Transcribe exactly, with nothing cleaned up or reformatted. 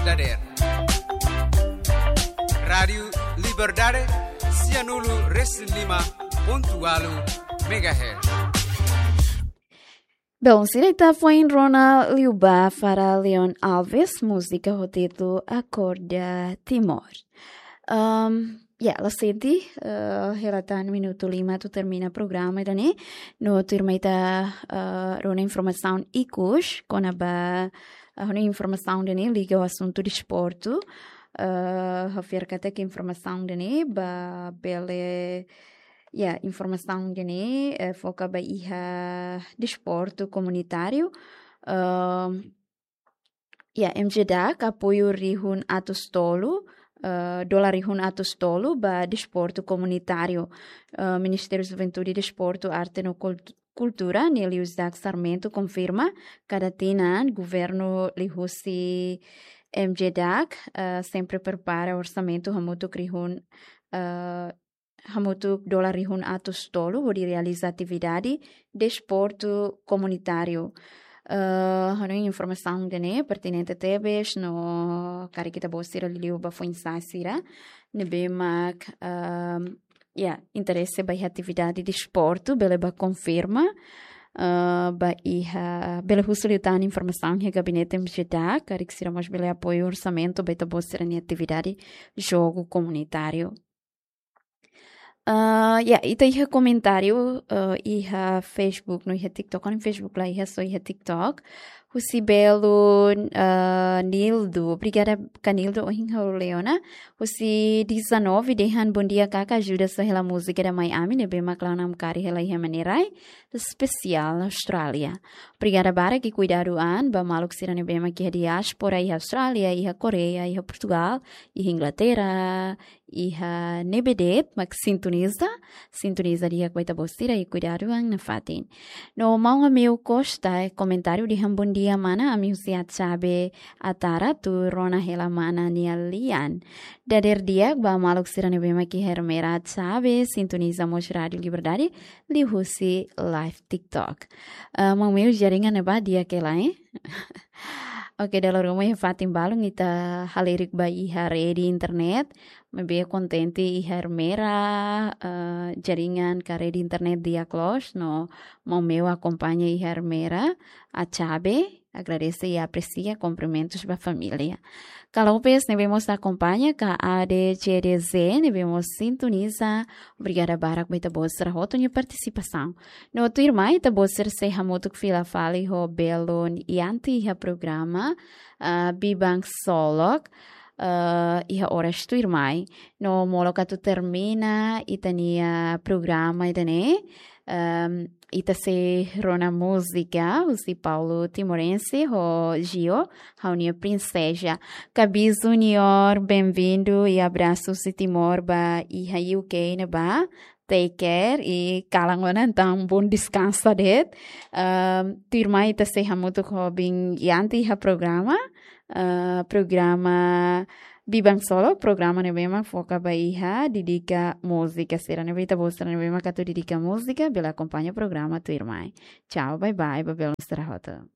Dader. Rádiu Liberdade, sianulu resin lima pontu ualu megahertz. Bom, sira ita foin rona liubá fali Leon Alves, múzika ho títulu Akorda Timor. Um, ya, la sente, eh, hela tan minutu lima atu termina programa ida-ne'e. No tuirmai ita, eh, rona informasaun ikus, kona-ba, eh, rona informasaun ida-ne'e liga ho asuntu desportu. Eh, ha'u fiar katak informasaun ida-ne'e ba bele, ya, informasaun ida-ne'e, eh, foka ba iha desportu komunitáriu. Eh, ya, M J DAC apoiu rihun atus tolu, eh, dolar rihun atus tolu ba desportu komunitáriu. Eh, Ministériu Juventude, Desportu, Arte no Kultu-, Kultura, Nelius DAC Sarmento, konfirma, kada tinan, governu liuhusi M J DAC, eh, sempre prepara orsamentu hamutuk rihun, eh, hamutuk dolar rihun atus tolu, hodi realiza atividade desportu komunitáriu. Eh, hanoin informasaun ida-ne'e pertinente tebes, no karik ita-boot sira liuliu ba foin-sa'e sira ne'ebé mak, ehm, ya, interese ba iha atividade desportu, bele bá konfirma, eh, ba iha, bele husu liután informasaun iha gabinete M J DAC, karik sira mós bele apoiu orsamentu ba ita-boot sira-nia atividade jogu komunitáriu. Eh, ya, ita iha komentáriu, eh, iha Facebook, no iha TikTok, no Facebook la iha, só iha TikTok. Husi belun, eh, Nildo, obrigada ka Nildo, ohin ha'u lee ona. Husi dezanove dehan: "Bondia kaka, ajuda só hela múzika ida mai ami, ne'ebé mak la'o namkari hela iha ema nia rai, espesiál Austrália." Obrigada barak, i kuidadu an ba maluk sira ne'ebé mak iha diáspora, iha Austrália, iha Koreia, iha Portugal, iha Inglaterra, iha ne'ebé de'it mak sintoniza, sintoniza di'ak ba ita-boot sira, i kuidadu an nafatin. No maun Ameu Costa, eh, komentáriu dehan: "Bondia mana, ami husi Atxabe, Atara, tuir rona hela mana nia lian." Dader di'ak ba maluk sira ne'ebé mak iha Ermera, Atxabe, sintoniza mós Rádiu Liberdade liuhusi live TikTok. Eh, maun Ameu, jaringan ne'ebá di'ak hela, eh? Oke, dala ruma iha fatin balun ita halerik ba iha rede internet. Maibé kontente iha Ermera, eh, jaringan ka rede internet di'ak loos, no maun Ameu akompaña iha Ermera, Atxabe, agradese i apresia, kumprimentus ba família. Ka Lopes ne'ebé mós akompaña, ka A D C D Z ne'ebé mós sintoniza, obrigada barak ba ita-boot sira hotu nia partisipasaun. No tuirmai ita-boot sira sei hamutuk fila fali ho belun Yanti iha programa, ah, Biban Ksolok, ah, iha oras tuirmai. No molok atu termina ita-nia programa ida-ne'e, ehm, ita sei rona múzika husi Paulo Timorense ho Gio, Ha'u-nia Prinseza. Kabi Junior, bem-vindo i abrasu husi Timor ba iha U K ne'ebá. Take care i kalan ona entaun bom descanso de'it. Ehm, tuirmai ita sei hamutuk ho belun Yanti iha programa, eh, programa Biban Ksolok, programa ne'ebé mak foka ba iha dedika múzika sira, ne'ebé ita-boot sira ne'ebé mak atu dedika múzika, bele akompaña programa tuirmai. Tchau, bye bye, ba belun sira hotu.